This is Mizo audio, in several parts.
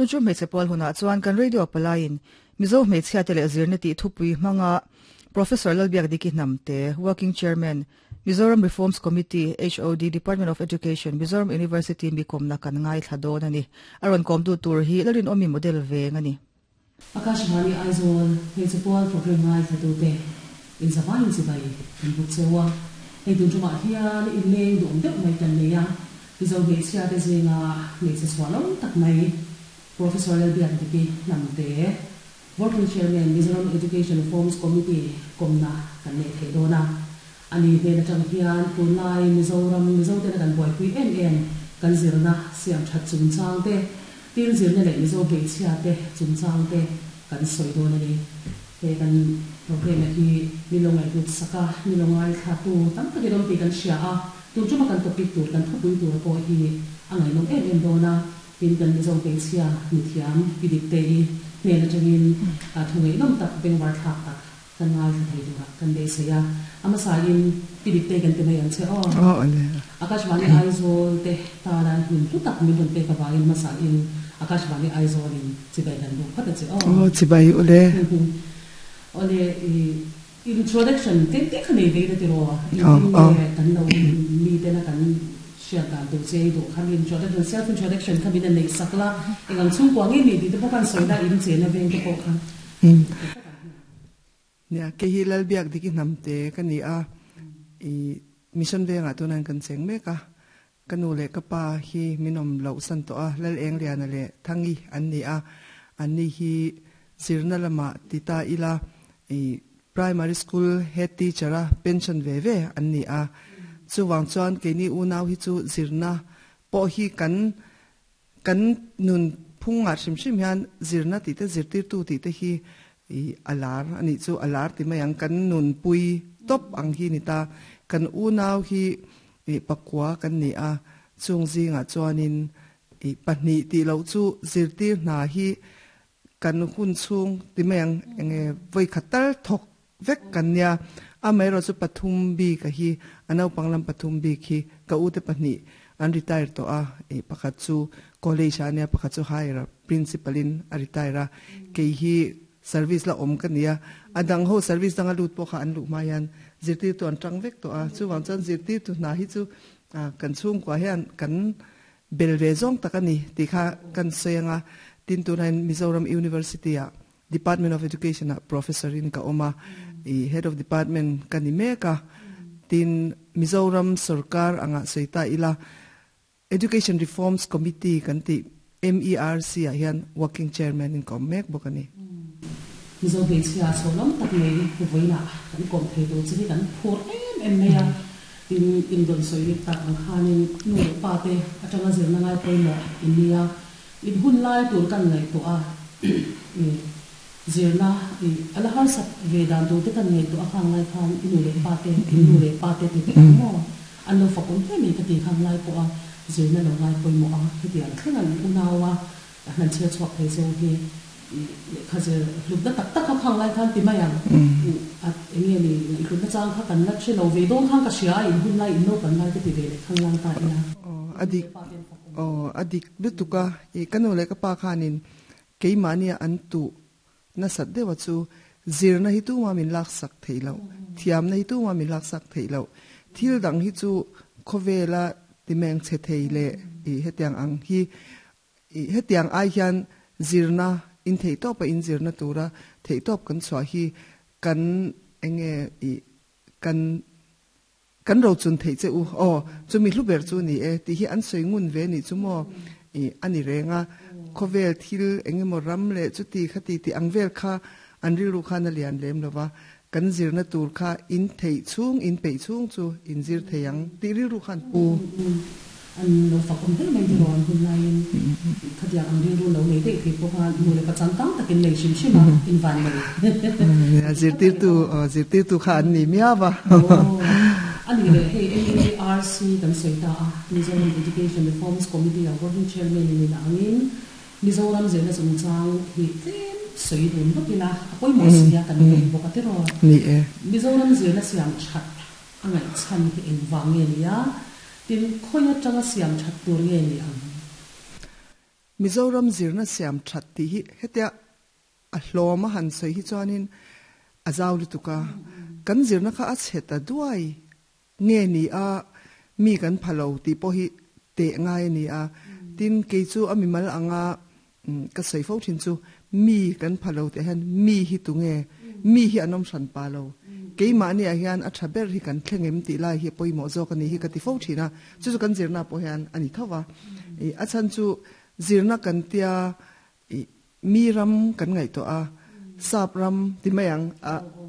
Tunchum hmeichhe pual hunah chuan kan radio palaiin Mizo hmeichhiate leh zirna tih thupui hmanga Professor Lalbiakdiki Hnamte, Working Chairman, Mizoram Reforms Committee, HOD, Department of Education, Mizoram University mi kawmna kan ngaithla dawn a ni. A rawn kawmtu tur hi Lalrinawmi model veng a ni. Akashvani Aizawl hmeichhe pual program ngaithlatute inzavaiin chibai kan buk cheu a, hei tun tumah hian inleng duhawm deuh mai kan nei a, Mizo hmeichhiate zinga hmeichhe chhuah lo tak mai Professor Lalbiakdiki Hnamte, Working Chairman, Mizoram Education Reforms Committee kawmna kan nei thei dawn a. A ni hnen atang hian tunlai Mizoram Mizotena kan buaipui em em kan zirna siam that chungchang te, tin zirna leh Mizo hmeichhia te chungchang te kan sawi dawn a ni. He kan programme hi mi lo ngaihhlut sak a, mi lo ngaithlatu tam takin awm tih kan hria a, tun tuma kan topic tur kan thupui tur pawh hi a ngaihnawm em em dawn a. Tin, kan Mizo hmeichhia mithiam pi Diktei hnen atangin thu ngaihnawm tak, bengvar thlak tak kan ngaithla thei turah kan beisei a. A hmasain pi Diktei kan ti mai ang che aw. Akashvani Aizawl te tana hmun hlu tak min rawn pek avangin hmasain Akashvani Aizawlin chibai kan buk phawt a che aw. Aw, chibai ule. Awle, i Introduction tlem te kha nei ve ila tiraw? Engtin nge kan lo miten a kan hriat dan tur che i duh kha mi introduction, self introduction kha min a neih sak la, eng ang chhungkua nge ni tih te pawh khan sawi la, in chena veng te pawh kha. Nia, kei hi Lalbiak Diki Hnamte ka ni a, i Mission vengah tunan kan cheng mek a, ka nu leh ka pa hi min awm loh san tawh a, Lal Engliana leh Thangi an ni a, anni hi zirna lamah ti ta ila i primary school head teacher a pension ve ve an ni a, chuvang chuan keini unau hi chu zirna pawh hi kan kan nun phungah hrim hrim hian zirna tih te zirtirtu tih te hi i a lar a nih chu a lar ti mai ang kan nunpui tawp ang hi ni ta kan unau hi Ih pakua kan ni a, chung zingah chuanin ih pahnih tih loh chu zirtir hna hi kan hun chhung ti mai ang enge vawi khat tal thawk vek kan nia. Amaherawh chu pathum bik a hi a naupang lam pathum bik hi ka ute pahnih an retire tawh a, ih pakhat chu college ah a nia pakhat chu higher principal in a retire a, kei hi Service la awm ka nia, a dang ho service danga lut pawh kha an luh hma hian zirtirtu an tang vek tawh a, chuvang chuan zirtirtu hna hi chu kan chhungkua hian kan bel ve zawng tak a ni tih kha kan sawi ang a, tin tunah hian Mizoram University ah Department of Education ah Professor in ka awm a, i Head of Department ka ni mek a, tin Mizoram sorkar angah sawi ta ila Education Reforms Committee kan tih MERC ah hian Working Chairman in ka awm mek bawk a ni. Mizo hmeichhia chhawlawm tak mai vawiinah kan kawm thei tur che hi kan phur em em mai a, tin inrawn sawi tak ang khanin nu leh pa te atanga zirna ngai pawimawh in nia, in hun lai tur kan ngaihtuah a, zirna a la harsat ve dan tur te kan ngaihtuah a khang lai khan i nu leh pa te, in nu leh pa te ti teh ang maw? An lo fak awm hle mai ka ti khang lai pawh a zirna lo ngai pawimawh a, hetiang thleng an unau a han chhiar chhuak thei cheu hi lehkha zir hlutna tak tak kha khang lai khan ti mai ang at eng nge ni hlutna chang kha kan la hre lo ve dawn khan ka hria a in hun lai in naupan lai ka ti ve leh khang lang ta ila. Aw a dik aw a dik lutuk a i ka nu leh ka pa khanin keimahnia an tuh Nasat deuha chu zirna hi tuma min laksak theih loh, thiamna hi tuma min laksak theih loh, thil dang hi chu khawvela timeng chhe thei leh i hetiang ang hi i hetiang ai hian zirna in theihtawpa in zirna tura theihtawp kan chhuah hi kan enge i kan Kan rochun theih che u aw, chumi hlu ber chu ni e tih hi an sawi ngun ve nih chu maw i a ni reng a, khawvel thil eng emaw ram leh chuti khati tih ang vel kha an rilru khan a lian lem lo va, kan zirna tur kha in theih chhung, in peih chhung chu in zir thei ang tih rilru khan pu. An lo fak awm hle mai tiraw an hun laiin khatiang ang rilru lo nei daih thei pawh kha nu leh pa changkang takin nei hrim hrim a in van nei. Zirtirtu zirtirtu kha an ni miau a. A nih leh hei MERC kan sawi ta a, Mizoram Education Reforms Committee a Working Chairman in ina angin Mizoram zirna chungchang hi tlem sawi dun lawk ila a pawimawh si a kan vei bawk a tiraw. Ni e. Mizoram zirna siam that A ngaihchhan hi engvang nge ni a? Tin, khawi atanga siam that tur nge ni ang? Mizoram zirna siam that tih hi hetia a hlawm a han sawi hi chuanin a zau lutuk a, kan zirna kha a chhe ta duai nge ni a, mi kan pha lo tih pawh hi teh ngai a ni a. Tin, kei chu a mimal anga ka sawi fo thin chu mi kan pha lo tih hian mi hi tunge, mi hi an awm hran pa lo, keimahni ah hian a tha ber hi kan thleng em tih lai hi a pawimawh zawk a ni hi ka ti fo thin a, chu chu kan zirna pawh hian a ni tho va. A chhan chu zirna kan tia I mi ram kan ngaihtuah a, sap ram ti mai ang,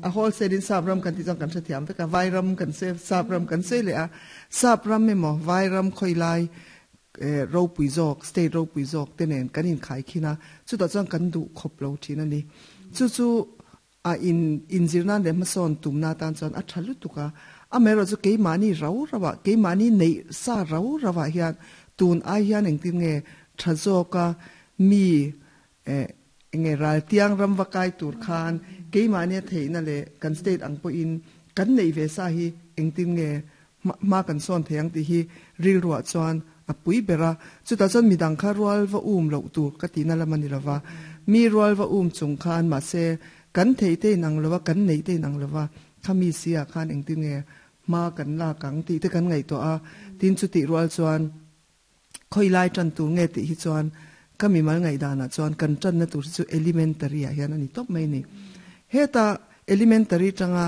a wholesale in sap ram kan tih chuan kan hrethiam vek a, vai ram kan sawi sap ram kan sawi leh a, sap ram emaw vai ram khawi lai ropui zawk, state ropui zawk te nen kan inkhai khin a, chutah chuan kan duh khawp lo thin a ni. Chu chu a in inzir nan leh hmasawn tumna atan chuan a tha lutuk a, amaherawh chu keimahni rau rauh ah, keimahni neih sa rau rauh ah hian tun ai hian engtin nge tha zawk a mi eh enge raltiang ram va kai tur khan keimahni a theihna leh kan state ang pawhin kan neih ve sa hi engtin nge hma kan sawn thei ang tih hi rilruah chuan a pui ber a, chutah chuan midang kha rual va um loh tur ka tihna lam a ni lova, mi rual va um chung khan mahse kan theih te inang lova, kan neih te inang lova, kha mi si ah khan engtin nge hma kan lak ang tih te kan ngaihtuah a, tin chutih rual chuan khawi lai tan tur nge tih hi chuan ka mimal ngaihdanah chuan kan tanna tur hi chu elementary ah hian a ni tawp mai a ni. Heta elementary tanga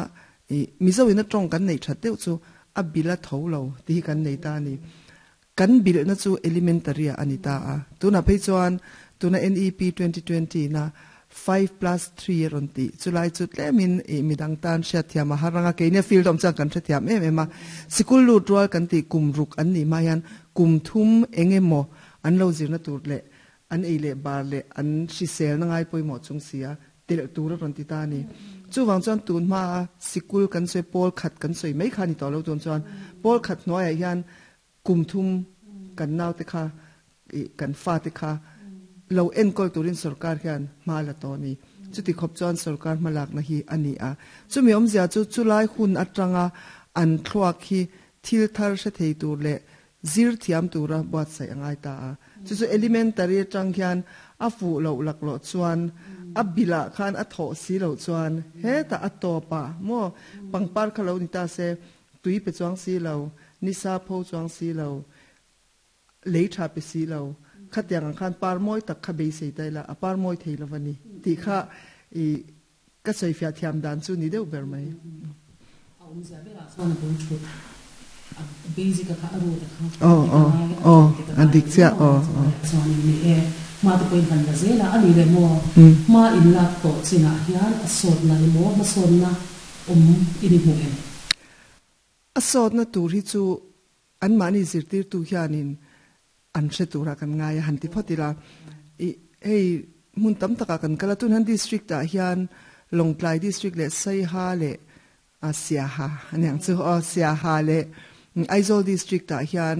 I Mizo in a tawng kan neih that deuh chu a bil a tho lo tih hi kan nei ta a ni. Kan bilhna chu elementary ah a ni ta a. Tunah phei chuan tuna NEP 2020 na 5+3 a rawn tih chulai chu tlemin i midang tan hriatthiam a har ang a, keini a field awm chuan kan hrethiam em em a. Sikul lut rual kan tih kum ruk an nih hma hian kum thum eng emaw an lo zirna tur leh an ei leh bar leh an hriselna ngai pawimawh chung si a telh tur a rawn ti ta a ni. Chuvang chuan tun hmaa sikul kan sawi pawl khat kan sawi mai kha a ni tawh lo tun chuan pawl khat hnuaiah hian kum thum kan naute kha ih kan fate kha lo enkawl turin sorkar hian hma la tawh a ni. Chuti khawp chuan sorkar hmalakna hi a ni a. Chumi awmzia chu chulai hun atanga an thluak hi thil thar hre thei tur leh Zir thiam tura buatsaih a ngai ta a. Chu chu elementary atang hian a fuh loh laklawh chuan a bilah khan a thawh si loh chuan hetah a tawp a maw pangpar kha lo ni ta se tui pe chuang si lo, nisa pho chuang si lo, lei tha pe si lo, khatiang ang khan par mawi tak kha beisei ta ila a par mawi thei lo va ni tih kha i Ka sawifiah thiam dan chu ni deuh ber mai. A awmzia berah chuan a bul thut a basic a kha a root a kha a dik a ngai a dik a ngai a ni chuan in ni e hma te pawh in han la zel a a ni leh maw hma in lak tawh chinah hian a sawtna emaw hmasawnna awm i ni hmuh em? A sawtna tur hi chu anmahni zirtirtu hianin an hre turah kan ngai a han ti phawt ila. I hei hmun tam takah kan kal a, tun hian district ah hian Lawngtlai district leh Saiha leh Siaha aniang chu aw Siaha leh Aizawl district ah hian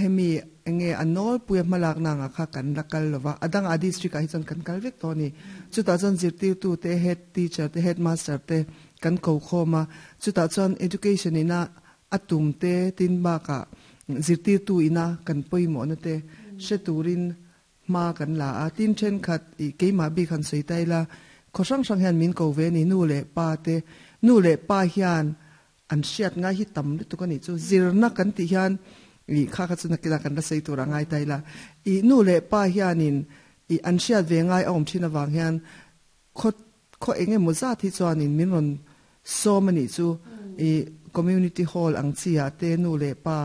hemi enge a nawlpuia hmalakna anga kha kan la kal lova, a dangah district ah hi chuan kan kal vek tawh a ni. Chutah chuan zirtirtu te, head teacher te, headmaster te kan ko khawm a, chutah chuan education ina A tum te tin bakah zirtirtu ina kan pawimawhna te hre turin hma kan la a, tin thenkhat i keimah bik han sawi ta ila, khaw hrang hrang hian min ko ve a ni, nu leh pa te, nu leh pa hian an hriat ngai hi tam lutuk a nih chu, zirna kan tih hian i kha kha chu nakinah kan la sawi tur a ngai ta ila, i nu leh pa hianin i an hriat ve ngai a awm thin avang hian khaw Khaw eng emaw zat hi chuanin min rawn sawm a nih chu i community hall ang chi ah te nu leh pa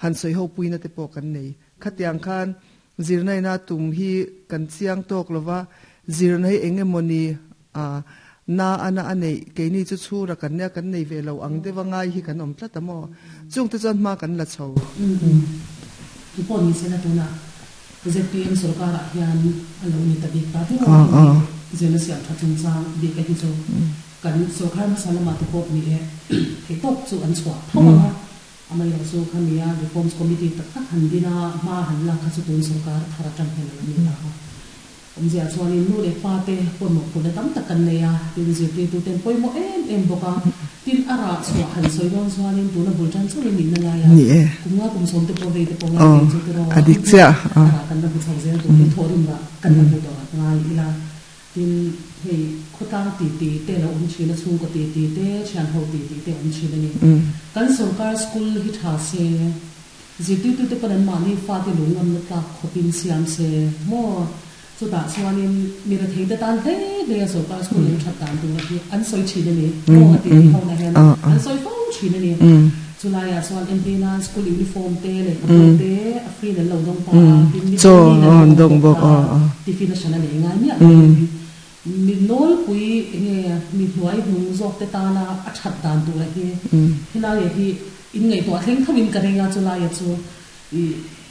han sawi ho puina te pawh kan nei. Khatiang khan zirna ina tum hi kan chiang tawk lova, zirna hi eng emaw ni a na ana a neih keini chu chhura kan nia kan nei ve lo ang deuh a ngai hi kan awm tlat a maw? Chungte chuan hma kan la chho. Tu pawh ni se la tunah ZPM sorkarah hian a lo ni ta bik ta viau a ni. Zirna siam tha chungchang bik a hi chu kan sorkar hmasa lamah te pawh ni e thei tawp chu an chhuah tho ang a, amaherawh chu khami a Reforms Committee tak tak han din a, hma han lak kha chu tun sorkar thar atang hian a lo ni ta a. Awmzia chuanin nu leh pa te pawimawh phurhna tam tak kan nei a, tin zirtirtu ten pawimawh em em bawk a. Tin a rah chhuah han sawi dawn chuanin tuna bul tan chauhin nihna laia Ni e. kum nga kum sawm te pawh vei te pawh ngai Aw ve chu tiraw a dik chiah a rah kan la hmu chho zel tur hi thawhrim rah kan la hmu tawh ngai ila. Tin hei khawtlang titi te lo awm thin a, chhungkaw titi te, thianho titi te awm thin a ni. Kan sorkar school hi tha se, zirtirtute pawn an mahni fate lungngamna tlak khawpin siam se maw? Chutah chuanin mi retheite tan hle hle a sorkar school lo that dan tur hi an sawi thin a ni maw a tih ho na hian an sawi fo thin a ni. Chulaiah chuan entir nan school uniform te, lehkhabu te a free in an lo dawng ta a, tin mi pawhin an dawng bawk ta, tiffin a hran a nei ngai miah lovin mi nawlpui enge mi hnuai hnung zawk te tana a that dan tura hi helaiah hi inngaihtuah thleng tho in ka ring a, chulaia chu I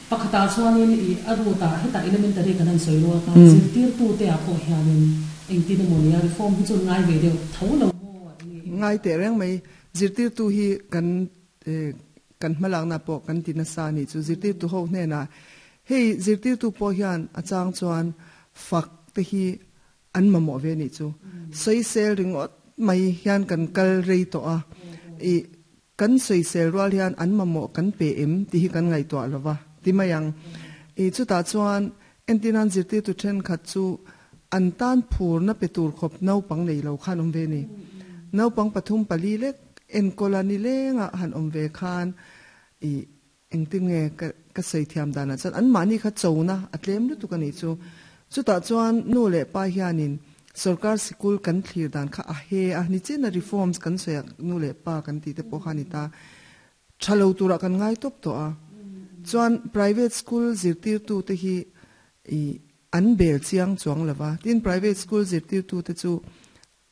pakhatah chuanin i a root-ah hetah elementary kan han sawi rual kha zirtirtute ah pawh hianin engtin emaw nia reform hi chu ngai ve deuh tho lo maw enge i. Ngai teh reng mai, zirtirtu hi kan kan hmalakna pawh kan ti nasa a nih chu, zirtirtu ho hnenah hei zirtirtu pawh hian a chang chuan fak te hi an mamawh ve a nih chu, sawisel ringawt mai hian kan kal rei tawh a, i Kan sawisel rual hian an mamawh kan pe em tih hi kan ngaihtuah lo va ti mai ang. I chutah chuan entirnan zirtirtu thenkhat chu an tan phurna pe tur khawp naupang nei lo khan awm ve a ni. Naupang pathum pali lek enkawla nilengah han awm ve khan i Engtin nge ka ka sawi thiam danah chuan anmahni kha chona a tlem lutuk a nih chu. Chutah chuan nu leh pa hianin sorkar sikul kan thlir dan kha a he a, nichina reforms kan sawi a nu leh pa kan tih te pawh kha a ni ta. Tha lo turah kan ngai tawp tawh a. Chuan private school zirtirtu te hi i an bel chiang chuang lo va. Tin private school zirtirtu te chu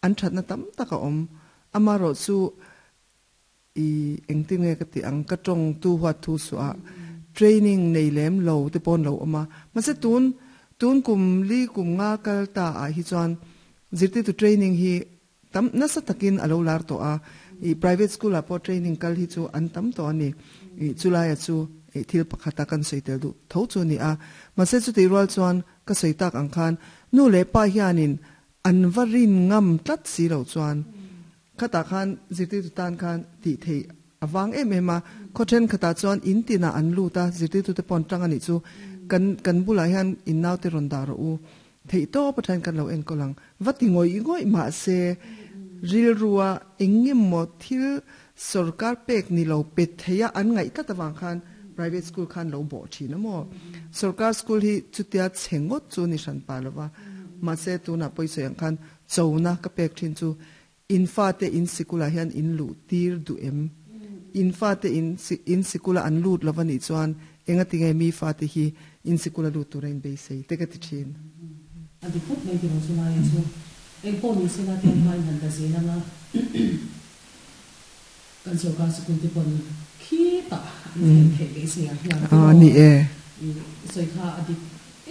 an thatna tam tak a awm. Amaherawhchu I engtin nge ka tih ang, ka tawng tu huat thu suh ah training nei lem lo te pawn lo awm a, mahse tun tun kum li kum nga kal ta ah hi chuan zirtirtu training hi tam nasa takin a lo lar tawh a, i private school ah pawh training kal hi chu an tam tawh a ni, i chulai ah chu i thil pakhat a kan sawi tel duh tho chu a ni a, mahse chutih rual chuan ka sawi tak ang khan nu leh pa hianin an va rin ngam tlat si lo chuan Khatah khan zirtirtu tan khan tih theih a vang em em a, khaw thenkhatah chuan in tinah an lut a, zirtirtute pawh an tang a nih chu kan kan bulah hian in naute rawn dah rawh u, theih tawp atangin kan lo enkawl ang, va ti ngawih ngawih mahse rilrua eng ngemaw thil sorkar pek ni lo pe theia an ngaih tlat avang khan private school khan lo bawh thin a maw? Sorkar school hi chutia chhe ngawt chu ni hran pah lova, mahse tunah pawisawi ang khan chona ka pek thin chu In fate in sikulah hian in luh tir duh em? In fate in in sikula an lut lo va nih chuan engatinge mi fate hi in sikula lut tura in beisei te ka ti thin. A dik khawp mai tiraw chu laia chu eng pawh ni sela te an hmain han la zel anga kan sorkar sikul te pawn khitah an thlen theih beisei ang hian tiraw Ni e. I sawi kha a dik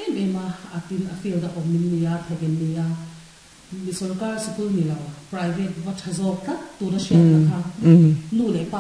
em em a, a tin a field a awm in nia thawk in nia. Mi sorkar sikul ni lo, private va tha zawk tlat tura hriatna kha nu leh pa.